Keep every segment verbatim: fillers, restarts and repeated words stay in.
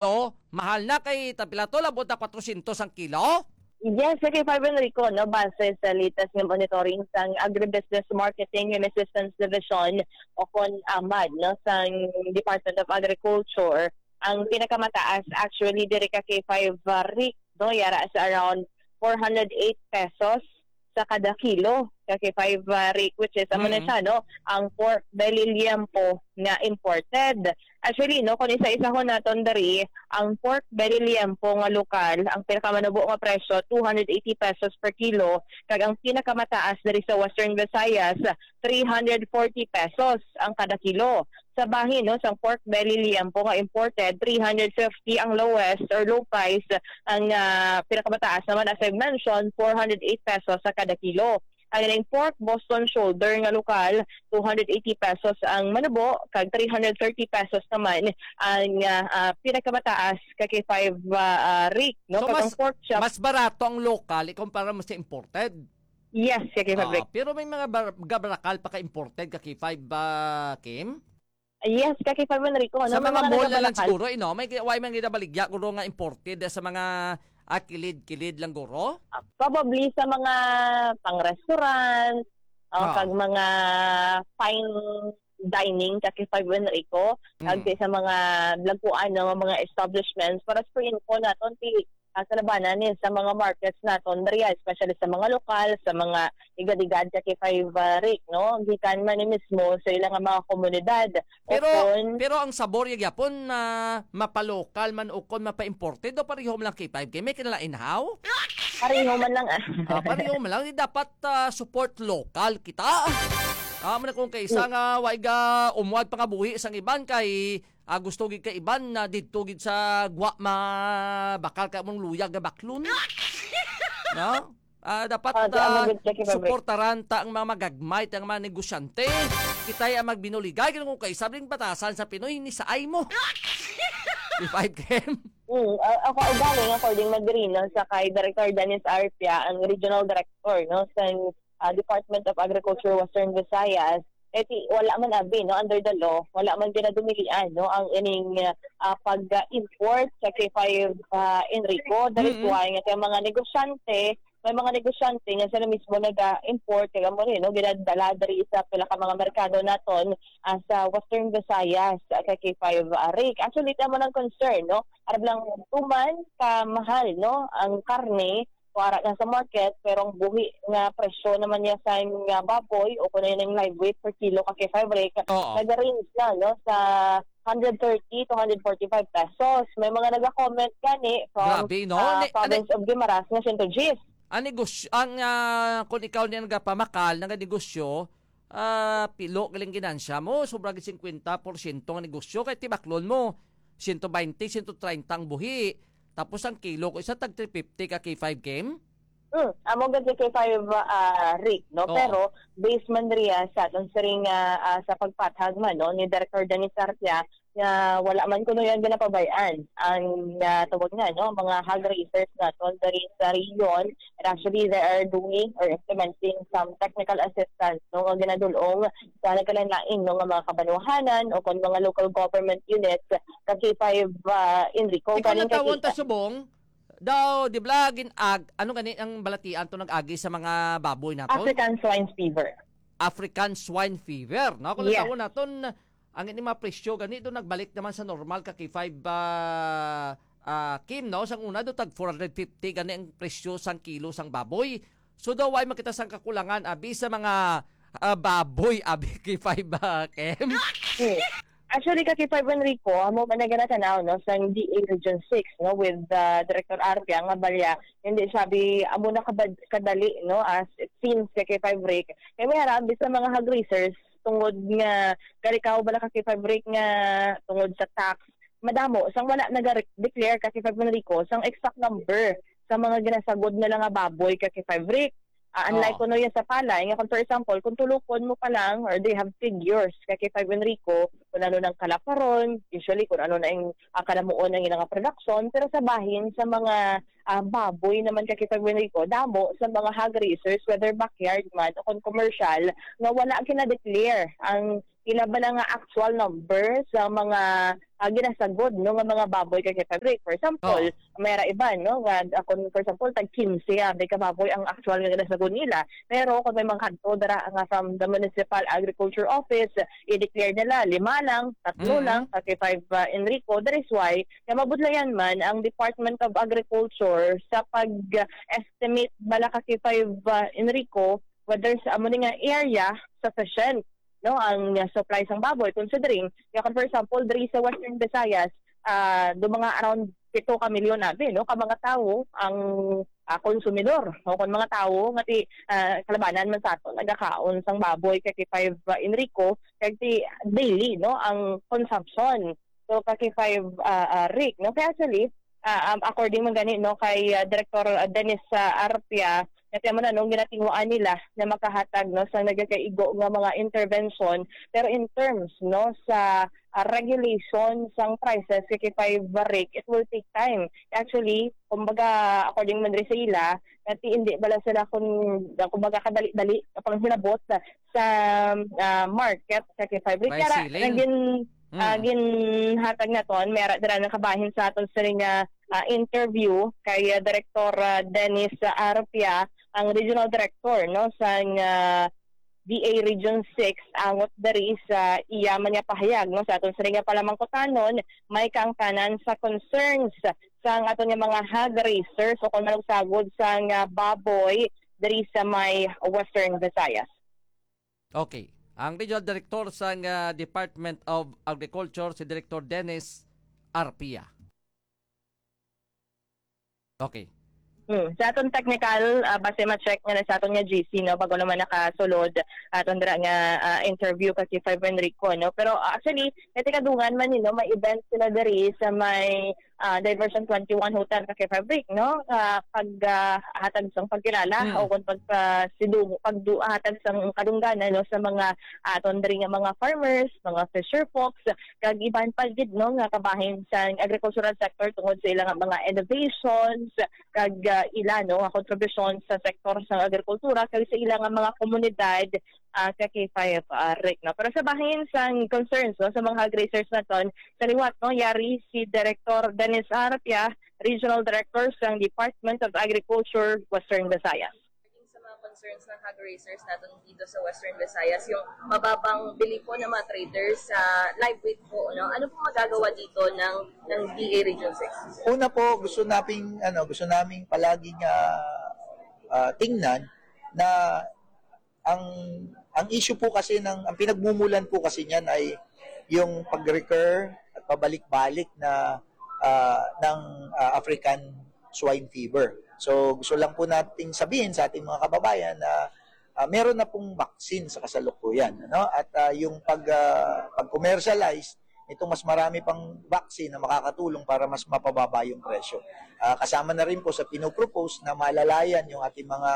to, mahal na kay tapila to, labot na kwatrosyentos ang kilo. Yes, K five Enrico, no, base sa latest nga monitoring sang Agribusiness Marketing and Assistance Division o kon amad, no, sang Department of Agriculture, ang pinakamataas actually diri ka K five, uh, Rick, no, yara sa around four hundred eight pesos sa kada kilo ka K five, uh, Rick, which is amo na Mm. siya, no, ang pork belly liempo nga imported. Actually, no, kung isa-isahon naton diri, ang pork belly liempo nga lokal, ang pinakamanubo nga presyo, two hundred eighty pesos per kilo, kag ang pinakamataas diri sa Western Visayas, three hundred forty pesos ang kada kilo. Sa bahin, no, sang pork belly liempo nga imported, three hundred fifty ang lowest or low price, ang, ah, pinakamataas naman, as I mentioned, four hundred eight pesos sa kada kilo. Ang ining pork Boston shoulder nga lokal, two hundred eighty pesos ang manubo, kag three hundred thirty pesos naman ang, ah, ah, pinakamataas ka K five, ah, ah, Rick, no? So, Kag ang mas, pork chop, mas barato ang lokal ikumpara mo sa imported? Yes, ka K five, Ah, Rick. Pero may mga bar-, gabarakal pa ka imported ka K five, ah, Kim? Yes, ka K five, Enrico, Sa no? May mga mga mall na lang nagabalakal. Siguro, eh, no? May gi-, way man ginabaligya, guro, nga imported, eh, sa mga, ah, kilid-kilid lang, guro? Ah, probably sa mga pang-restaurant, oh, Ah. kag mga fine dining, ka K five, Enrico, kag Mm. sa mga dagkuan, no, mga establishments. Para sa info naton, ti, ah, sa labanan ni sa mga markets naton, diri, especially sa mga lokal, sa mga igad-igad, ka K five, ah, Rick, no? Gikan man ni mismo sa ila nga mga komunidad. Pero, Ukon, pero ang sabor ya gyapon na mapalokal man ukon mapa-imported, o pareho man lang, K five K? May kinalain, haw? Pareho man lang, ah. Ah, pareho man lang. Di dapat, ah, support local kita. Ah, man kung kaisa Mm. nga, way ga umuad pa nga buhi sang iban kay, ah, gusto gid ka iban na didto gid sa gwa ma-, bakal ka mong luyag nga baklon. No? Ah, dapat, Ah, di, amo ah, gid, Jackie Fabric. Suportaran ta ang mga magagmay, ang mga negosyante. Kitay ang magbinuligay, kung kay sabing batasan sa Pinoy, ni saay mo. Di five K M. Mm, ah, ako, galing, according na diri, no, sa kay Director Dennis Arpia, ang Regional Director, no, sa, ah, Department of Agriculture Western Visayas, eh, ti, wala man abi, no, under the law, wala man ginadumilian, no, ang ining, ah, pag-import sa K five, ah, Enrico. That is Mm-mm. why nga kay mga negosyante, may mga negosyante nga sila mismo naga-import, kay amo ni, no, ginadala diri sa pila ka mga merkado naton, ah, sa Western Visayas, ah, kay K five, ah, Rick. Actually, tama ng concern, no? Arab lang tuman ka mahal, no, ang karne, o ara na sa market, pero ang buhi nga presyo naman niya sa nga baboy o kuno yung live weight per kilo ka K five, Rick, Oo. nag-range na, no, sa hundred thirty to hundred forty-five pesos. May mga naga-comment gani from, Grabe, no? ah, Ni-, province of Guimaras nga Saint Regis. Ang negosyo, ang, ah, kung ikaw niya nagapamakal, naganegosyo, ah, pilo galing ginansya mo, sobra gid singkwenta porsyento nga negosyo, kay tibaklon mo, siyento baynte, siyento treinta ang buhi. Tapos ang kilo ko isa, tag three fifty ka K five K M? Hmm, amo gid si K five, ah, Rick, no? Oo. Pero based man riya sa atong siring nga, ah, sa pagpathag man, no, ni Director Dennis Arcia, nga wala man kuno yan ginapabay-an ang, ah, tawag nga, no, mga hog raisers naton diri sa rehiyon. And actually, they are doing or implementing some technical assistance, no, nga ginadul-ong sa nagkalain-lain, no, nga mga kabanwahanan o kon mga local government units sa K five, ah, Enrico. Ikaw Galing kay natawon ta kita. Subong, daw, di ba, gin-, ag-, ano gani ang balatian to nag-agi sa mga baboy naton? African swine fever. African swine fever, no? Kung Yes. natawon naton, ang ining mga presyo gani do nagbalik naman sa normal ka K five, ah, ah, Kim, no? Sang una do tag four hundred fifty gani ang presyo sang kilo sang baboy. So daw way makita sang kakulangan abi sa mga, ah, baboy abi K five, ah, Kim. Hmm. Actually, ka K five Enrico, amo man na ginatanaw, no, sang D A Region six, no, with, ah, Director Arpia nga balya, hindi sabi, amo na kabad-, kadali, no, as it seems, ka K five Rick. Kay may harabi sa mga hog raisers, tungod nga, kalikaw bala ka K five Rick nga, tungod sa tax, madamo, sang wala naga-declare ka K five Enrico, sang exact number sa mga ginasagod nila nga baboy ka K five Rick. Ah, unlike Oo. kuno yan sa palay, nga kung for example, kung tulukon mo pa lang, or they have figures, ka K five Enrico, kung ano nang kalaparon, usually kung ano na yung, ah, kalamuon ang ilang production, pero sa bahin, sa mga, ah, baboy naman ka K five Enrico, damo sa mga hog raisers, whether backyard man o kung commercial, nga wala gina-declare ang Pila bala nga actual numbers sa mga, ah, ginasagod, no, nga mga baboy kag kay Frederick? For example, Oh. may ra iban, no, nga, ah, kung for example, tag quince, ah, may ka baboy ang actual nga ginasagod nila. Pero kung may mga kadto dara nga from the Municipal Agriculture Office, i-declare nila lima lang, tatlo Mm. lang, kag kay five, ah, Enrico. That is why nga mabudlayan man ang Department of Agriculture sa pag-estimate bala kag kay five, ah, Enrico, whether sa amo ni nga area sufficient, no, ang, ah, supply sang baboy, considering nga kung for example diri sa Western Visayas, ah, do mga around pito ka milyon abi, no, ka mga tawo ang, ah, konsumidor, o kung mga tawo nga ti, ah, kalabanan man sa aton nagakaon sang baboy kag kay five, ah, Enrico, kag ti daily, no, ang consumption. So, kag kay five, ah, ah, Rick, no? Kaya actually, ah, um, according man gani, no, kay, ah, Director, ah, Dennis, ah, Arpia, nga ti amo na, no, ginatinguan nila na makahatag, no, sa nagakaigo nga mga intervention. Pero in terms, no, sa, ah, regulation sang prices kay kay five, Rick, it will take time. Actually, kumbaga, according man diri sa ila, nga ti hindi bala sila kun, kumbaga, kadali-dali ang panghinabot sa, ah, market kay kay five, Rick. By Kaya ra, ceiling? nagin-, ah, Mm. ginhatag naton, may ara dira nga kabahin sa aton sini nga, ah, interview kay, ah, Director, ah, Dennis, ah, Arpia, ang Regional Director, no, sang, ah, D A Region six, angot diri sa iya man nga pahayag, no, sa aton sini nga palamangkutanon, may kaangtanan sa concerns sang aton nga mga hog raisers o kon manugsagod sang, ah, baboy diri sa may Western Visayas. Okay. Ang Regional Director sang, ah, Department of Agriculture, si Director Dennis Arpia. Okay. Hmm. Sa aton technical, ah, base ma-check nga na sa aton nga G C, no, bago naman nakasulod aton dira nga, ah, interview kay kay five Enrico, no. Pero, ah, actually, may tikadungan man, you know, may event sila diri sa may, ah, Diversion twenty-one Hotel kay kay five Rick, no. Ah, pag, ah, hatag sang pagkilala Hmm. o kung pagpasidung-, pagdu-, hatag sang kadungganan, no, sa mga aton diri nga mga farmers, mga fisher folks, kag iban pa gid, no, nga kabahin sa agricultural sector tungod sa ila nga mga innovations, kag, ah, ila, no, nga kontribusyon sa sektor sa agrikultura kag sa ila nga mga komunidad, ah, kay kay five, ah, Rick, no. Pero sa bahin sang concerns, no, sa mga hog raisers naton, sa liwat, no, yari si Director Dennis Arpia, Regional Director sang Department of Agriculture, Western Visayas. Sa mga concerns ng hog raisers natin dito sa Western Visayas, yung mababang bili po ng mga traders sa live weight po, no? Ano pong magagawa dito ng, ng D A Region six? Una po, gusto naming, ano, gusto naming palaging, ah, ah, tingnan na ang, ang issue po kasi ng, ang pinagmumulan po kasi niyan ay yung pag-recur at pabalik-balik na, ah, ng, ah, African swine fever. So, gusto lang po nating sabihin sa ating mga kababayan na, ah, meron na pong vaccine sa kasalukuyan, ano? At, ah, yung pag, ah, pag-commercialize nitong mas marami pang vaccine na makakatulong para mas mapababa yung presyo. Ah, kasama na rin po sa pinopropose na malalayan yung ating mga,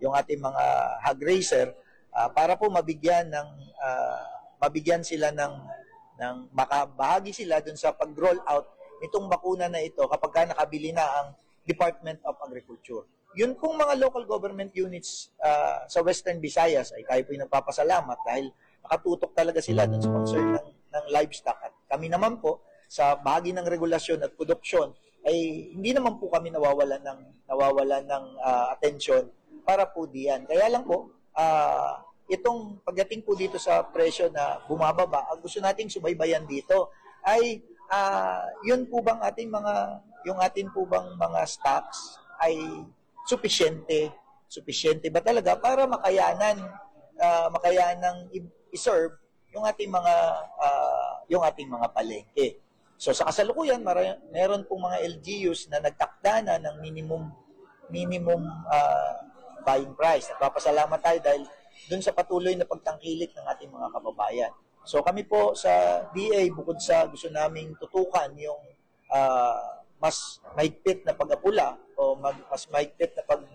yung ating mga hog raiser, ah, para po mabigyan ng, ah, mabigyan sila ng, ng makabahagi sila dun sa pag-roll out nitong bakuna na ito kapag ka nakabili na ang Department of Agriculture. Yun pong mga local government units, ah, sa Western Visayas ay tayo po'y nagpapasalamat dahil nakatutok talaga sila dun sa concern ng, ng livestock. At kami naman po, sa bahagi ng regulasyon at produksyon, ay hindi naman po kami nawawalan ng, nawawalan ng, ah, atensyon para po diyan. Kaya lang po, ah, itong pagdating po dito sa presyo na bumababa, ang gusto nating subaybayan dito ay, ah, yun po bang ating mga, yung atin po bang mga stocks ay supisyente, supisyente ba talaga para makayanan, ah, makayanang i-, i-serve yung ating mga, ah, yung ating mga palengke. So, sa kasalukuyan, mara-, meron pong mga L G Us na nagtakda na ng minimum, minimum, ah, buying price. Nagpapasalamat tayo dahil dun sa patuloy na pagtangkilik ng ating mga kababayan. So, kami po sa D A, bukod sa gusto naming tutukan yung, ah, mas mahigpit na pag-apula o mag-, mas mahigpit na pag-,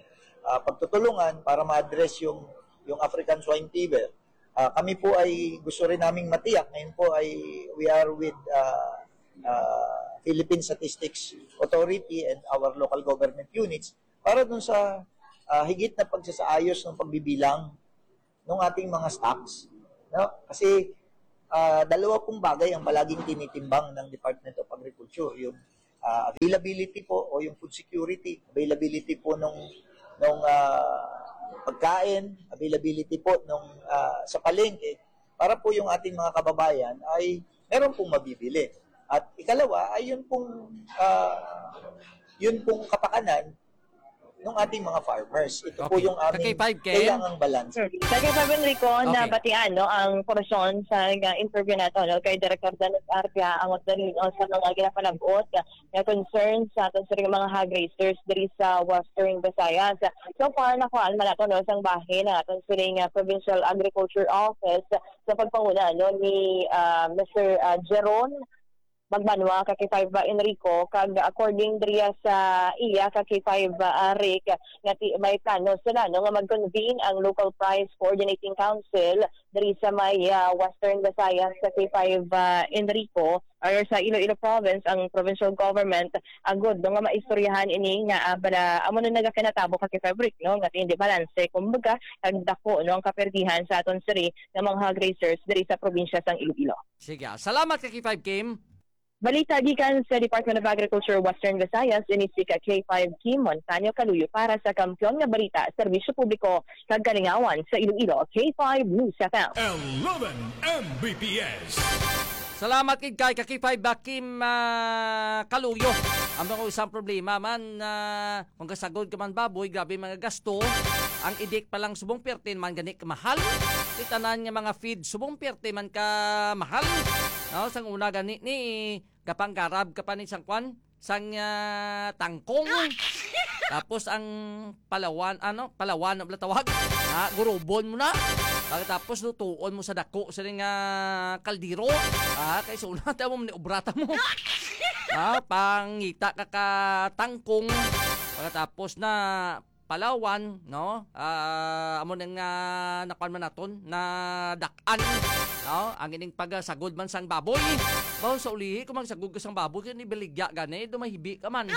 ah, pagtutulungan para ma-address yung, yung African swine fever, ah, kami po ay gusto rin naming matiyak. Ngayon po ay we are with, ah, ah, Philippine Statistics Authority and our local government units para dun sa, ah, higit na pagsasaayos ng pagbibilang ng ating mga stocks, no? Kasi Ah, dalawa pong bagay ang palaging tinitimbang ng Department of Agriculture, yung, ah, availability po o yung food security, availability po nung, nung, ah, pagkain, availability po nung, ah, sa palengke, para po yung ating mga kababayan ay meron pong mabibili. At ikalawa ay yun pong, ah, yun pong kapakanan ng ating mga farmers. Ito po Okay. yung aming Ka-K five, Ken? kailangang balance. Hmm. Sa K five Enrico, Okay. nabatian, no, ang portion sa, nga interview nato, no, kay Director Dennis Arpia, ang usa diri, no, sa mga ginapanag-ot nga concern sa aton sa mga hog raisers diri sa Western Visayas. So far, nakuhaan man nato, no, sang bahin ang aton sining, ah, Provincial Agriculture Office sa pagpanguna, no, ni, ah, Mister, ah, Jeron Magbanwa, ka K five ba, Enrico, kag according diriya sa iya, ka K five, ah, Rick, nga ti-, may plano sila, no, nga mag-convene ang Local Price Coordinating Council diri sa may, ah, Western Visayas, ka K five, ah, Enrico, or sa Iloilo Province, ang provincial government, agud, no, nga maistoryahan ini nga, ah, bala, amo na nagakinatabo, ka K five Rick, no, nga hindi balanse, kumbaga, kag dako, no, ang kaperdihan sa aton siri nga mga hog raisers diri sa probinsya sang Iloilo. Sige, ah, salamat, ka K five Kim. Balita gikan sa Department of Agriculture, Western Visayas, ini si ka K five Kim Montaño Kaluyo para sa Kampiyon nga Balita, Serbisyo Publiko, kag Kalingawan sa Iloilo, K five News F M. Eleven M B P S. Salamat gid kay ka K five ba, Kim, ah, Kaluyo. Ang mga isang problema man, ah, kung kasagod ka man baboy, grabe mga gasto. Ang idik pa lang subong perte man gani kamahal. Itanan nga mga feed subong perte man ka mahal. No, sang una gani ni gapanggarab ka pa ni sang kwan, sang, ah, tangkong. Tapos ang palawan, ano, palawan na bala tawag. Ha, gurubon mo na. Pagkatapos lutuon mo sa dako sa nga kaldero. Ha, kay sa una ta mo ni obrata mo. Ha, pangita ka ka tangkong. Pagkatapos na palawan, no? Ah, amo nang, ah, nakuan man naton, na dak-an, no? Ang ining pagsagod man sang baboy. Bawo sa ulihi, kung magsagod ka sang baboy, kay nibaligya gani, dumahibi ka man.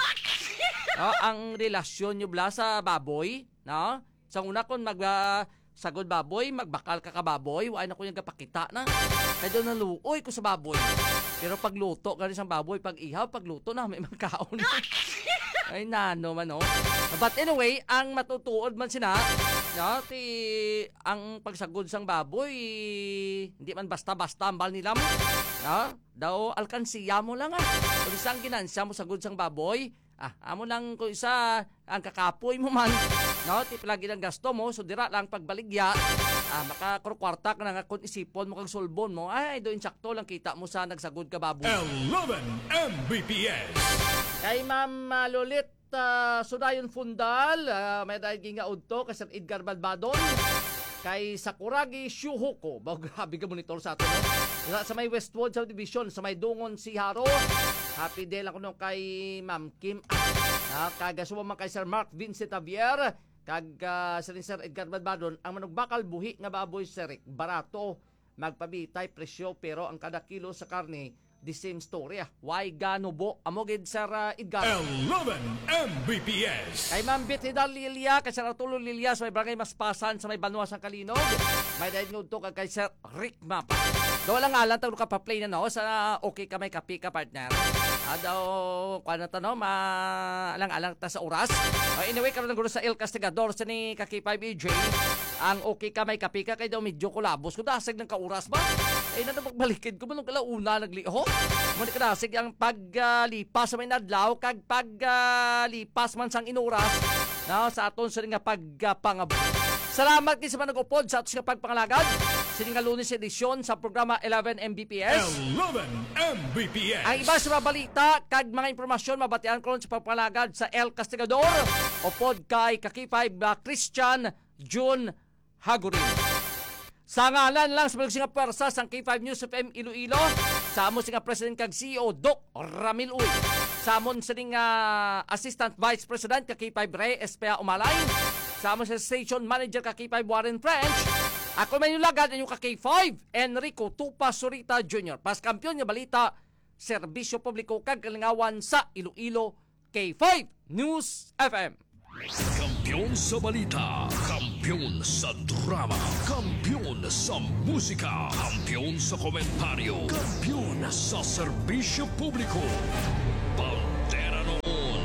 No? Ang relasyon nyo bala sa baboy, no? Sa una, kung mag, ah, sagod baboy, magbakal ka ka baboy, wa na ko yung gapakita na. Kaya doon naluoy ko sa baboy. Pero pagluto, gani sang baboy, pag ihaw, pagluto na, may makaon. Ay, nano man, no? But anyway, ang matutuod man sina, no, ti, ang pagsagod sang baboy, hindi man basta-basta ang bal nila mo. No? Daw, alkansiya mo lang, ah. Kung isang ginansya mo sagod sang baboy, ah, amo lang kung isa, ang kakapoy mo man, no? Ti palagi ang gasto mo, so dira lang pagbaligya, ah, makakurkwarta ka na nga kung isipon mo kag sulbon mo, ay, do insakto lang kita mo sa nagsagod ka baboy. Eleven M B P S. Kay Ma'am, ah, Lolit, ah, Sudayon Fundal, ah, may dahil gingaudto kay Sir Edgar Balbadon, kay Sakuragi Shuhoko. Ba, grabe ka monitor sa ato, no? Sa, sa may Westwood Subdivision, sa may Dungon si Haro. Happy day lang kuno kay Ma'am Kim. Ah, kag subong man kay Sir Mark Vincent Javier, kag, ah, sa ni Sir Edgar Balbadon, ang manugbakal buhi nga baboy, Sir Rick, barato, magpabitay presyo, pero ang kada kilo sa karne, the same story, ah. Why gano bo? Amo gid, Sir, ah, Edgar. Eleven M B P S. Kay Ma'am Beth Hidal Lilia, kay Sir Arturo Lilia, sa may Barangay Maspasan, sa may Banwa, sang Kalinog. May dahil ngudto kag kay Sir Rick Mapa. Daw lang alang tawag ka pa-play na, no? Sa okay ka, may kape ka, partner. Ah, daw, kuha na ta, no? Ma-, alang-alang ta sa oras. Ah, anyway, karon ang gulo sa El Castigador, sa ni ka K five E J. Ang okay ka, may kape ka, kay daw medyo kulabos. Kung dasig ng kauras ba? Eh, na magbalikin ko, manong kalauna, nagliho. Muna ka dasig ang paglipas sa may nadlaw, kag paglipas man sang inuras, no? Sa aton sa nga pagpangabot. Salamat gid sa mga nag-upod sa aton nga pagpangalagad. Sini nga Lunes edisyon sa programa eleven M B P S. Eleven M B P S. Ang iba sa mga balita kag mga impormasyon mabatian ko sa pagpangalagad sa El Castigador, upod kay ka K five, uh, Christian June Hagurin. Sa ngalan lang sa mga nga pwersa sang K five News F M Iloilo, sa amo si nga President kag C E O, Doc Ramil Uy. Sa amon sining, ah, Assistant Vice President ka K five Rey Espea Umalay. Sa amon sa Station Manager ka K five Warren French. Ako may nulagan ang inyong ka K five, Enrico Tupa Surita Junior. Pas kampiyon nga balita, serbisyo publiko kag kalingawan sa Iloilo, K five News F M. Kampiyon sa balita, kampiyon sa drama, kampiyon sa musika, kampiyon sa komentaryo, kampiyon sa serbisyo publiko. Bandera noon,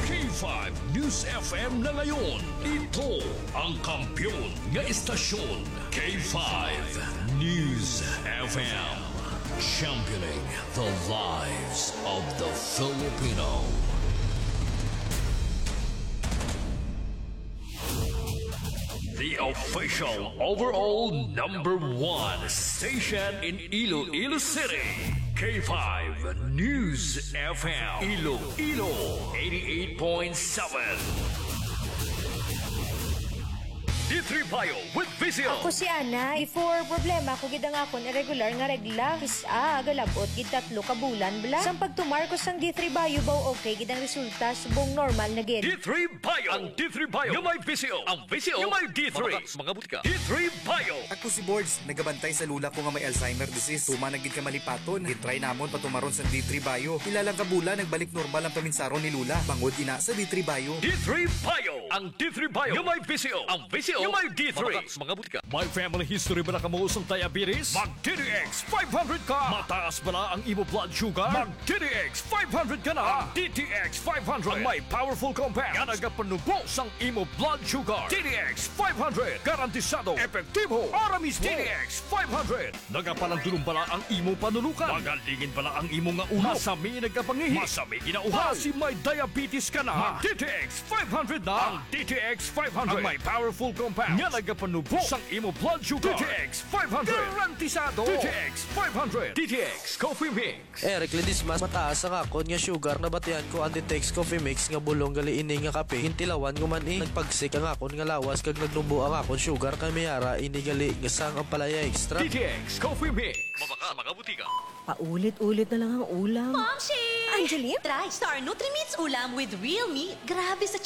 K five News F M na ngayon. Ito ang kampiyon nga istasyon, K five News F M. Championing the lives of the Filipino. The official overall number one station in Iloilo City, K five News F M, Iloilo eighty-eight point seven. D three Bio with V C O. Ako si Ana. Before, problema ko gid ang akon irregular nga regla. Kis-a, galabot gid tatlo ka bulan bala. Sang pagtumar ko sang D three Bio, baw okay gid ang resulta, subong normal na gid. D three Bio. Ang D three Bio nga may V C O. Ang V C O nga may D three. Mga butika. D three Bio. Ako si Bords, nagabantay sa lola ko nga may Alzheimer disease. Tuman na gid ka malipaton. Gitry namon patumaron sang D three Bio. Pila lang ka bulan, nagbalik normal ang paminsaron ni lola. Bangod ina sa D three Bio. D three Bio. Ang D three Bio nga may V C O. Ang V C O nga may D three. Mga butika. May family history bala kamo sang diabetes? Mag D T X five hundred ka. Mataas bala ang imo blood sugar? Mag D T X five hundred ka na. Ang D T X five hundred ang may powerful compound nga nagapanubo sang imo blood sugar. D T X five hundred, garantisado, epektibo, ara mismo. D T X five hundred, nagapalandulong bala ang imo panunukan? Magalingin bala ang imo nga ulo? Masami nagkapangihi? Masami ginauhaw? Basi may diabetes ka na? Mag D T X five hundred na. Ang D T X five hundred ang may powerful compound nga nagapanubo sang imo blood sugar. D T X five hundred. Garantisado. D T X five hundred. D T X Coffee Mix. Eric Ledesma, mataas ang akon nga sugar. Nabatian ko ang D T X Coffee Mix nga bulong gali ini nga kape. Gintilawan ko man, eh. Nagpagsik ang akon nga lawas kag nagnubo ang akon sugar, kay may ara ini gali nga sang Ampalaya Extra. D T X Coffee Mix. Mabakal sa mga butika. Paulit-ulit na lang ang ulam. Momshi! Angeline? Try Star Nutrimits ulam with real meat. Grabe sa